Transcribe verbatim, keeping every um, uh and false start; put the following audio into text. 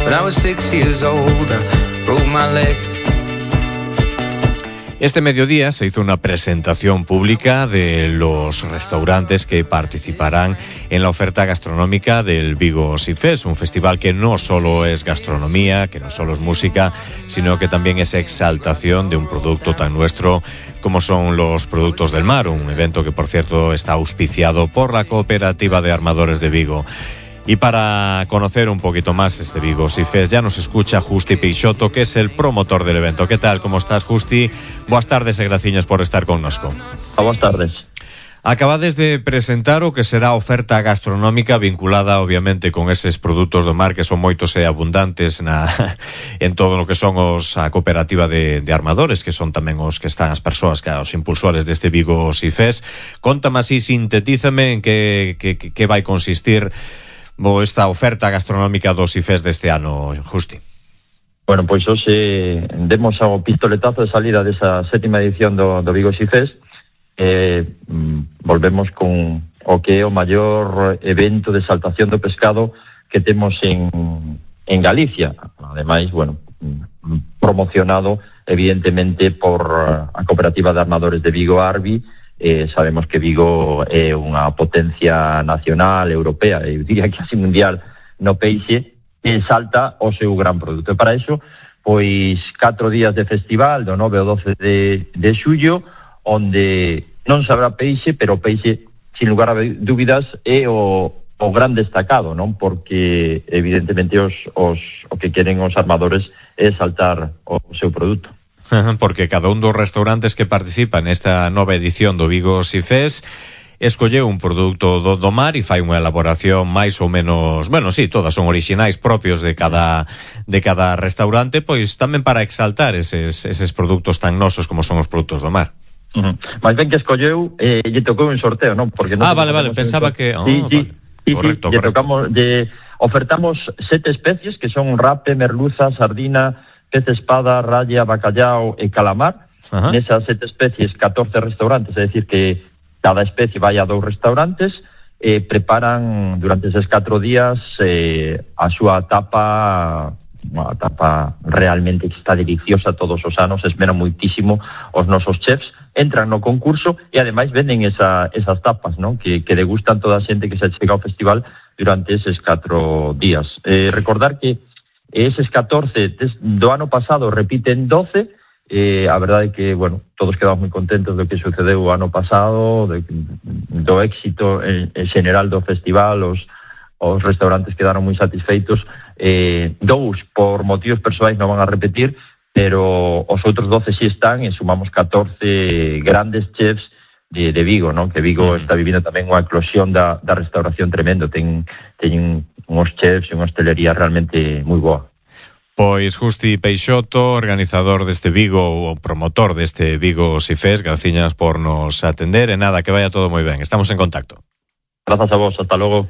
When I was six years old, I broke my leg. Este mediodía se hizo una presentación pública de los restaurantes que participarán en la oferta gastronómica del Vigo Sea Fest, un festival que no solo es gastronomía, que no solo es música, sino que también es exaltación de un producto tan nuestro como son los productos del mar, un evento que, por cierto, está auspiciado por la Cooperativa de Armadores de Vigo. Y para conocer un poquito más este Vigo Sea Fest, ya nos escucha Justi Peixoto, que es el promotor del evento. ¿Qué tal? ¿Cómo estás, Justi? Boas tardes e graciñas por estar connosco. Boas tardes. Acabades de presentar o que será a oferta gastronómica vinculada, obviamente, con eses produtos do mar que son moitos e abundantes na, en todo o que son os a cooperativa de, de armadores, que son tamén os que están as persoas, que os impulsores deste Vigo Sea Fest. Contame así, sintetízame en que, que, que vai consistir Bo esta oferta gastronómica do Sea Fest deste ano, Justi. Bueno, pois hoxe demos ao pistoletazo de salida desa sétima edición do, do Vigo Sea Fest. Eh, volvemos con o que é o maior evento de exaltación do pescado que temos en, en Galicia. Ademais, bueno, promocionado evidentemente por a Cooperativa de Armadores de Vigo, Arbi. Eh, sabemos que Vigo é unha potencia nacional, europea, eu diría que así mundial no peixe, e salta o seu gran produto. E para iso, pois, catro días de festival, do nove ao doce de, de xullo, onde non se habrá peixe, pero peixe, sin lugar a dúbidas, é o, o gran destacado, non? Porque, evidentemente, os, os, o que queren os armadores é saltar o seu produto. Porque cada un dos restaurantes que participan nesta nova edición do Vigo Sea Fest escolleu un produto do, do mar e fai unha elaboración máis ou menos, bueno, sí, todas son orixinais propios de cada de cada restaurante, pois tamén para exaltar eses, eses produtos tan nosos como son os produtos do mar. Uh-huh. Mais ben que escolleu, eh, lle tocou un sorteo, non? Porque non ah, vale, vale, pensaba que... Oh, sí, sí, vale. sí, correcto, sí, correcto. Tocamos, de, ofertamos sete especies que son rape, merluza, sardina, pez espada, raya, bacallao e calamar. Uh-huh. Nesas sete especies, catorce restaurantes, é dicir que cada especie vai a dous restaurantes e preparan durante eses catro días eh, a súa tapa, unha tapa realmente que está deliciosa todos os anos, esmeran moitísimo os nosos chefs, entran no concurso e ademais venden esa, esas tapas, non? Que, que degustan toda a xente que se chega ao festival durante eses catro días. Eh, recordar que eses catorce do ano pasado repiten doce, eh, a verdade é que, bueno, todos quedamos moi contentos do que sucedeu o ano pasado, de, do éxito en, en general do festival, os, os restaurantes quedaron moi satisfeitos, eh, dous por motivos persoais non van a repetir, pero os outros doce si están e sumamos catorce grandes chefs de, de Vigo, non? Que Vigo está vivindo tamén unha eclosión da, da restauración tremendo, ten, ten uns chefs e unha hostelería realmente moi boa. Pois Justi Peixoto, organizador deste Vigo, o promotor deste Vigo Sea Fest, graciñas por nos atender e nada, que vaya todo moi ben. Estamos en contacto. Grazas a vos, hasta logo.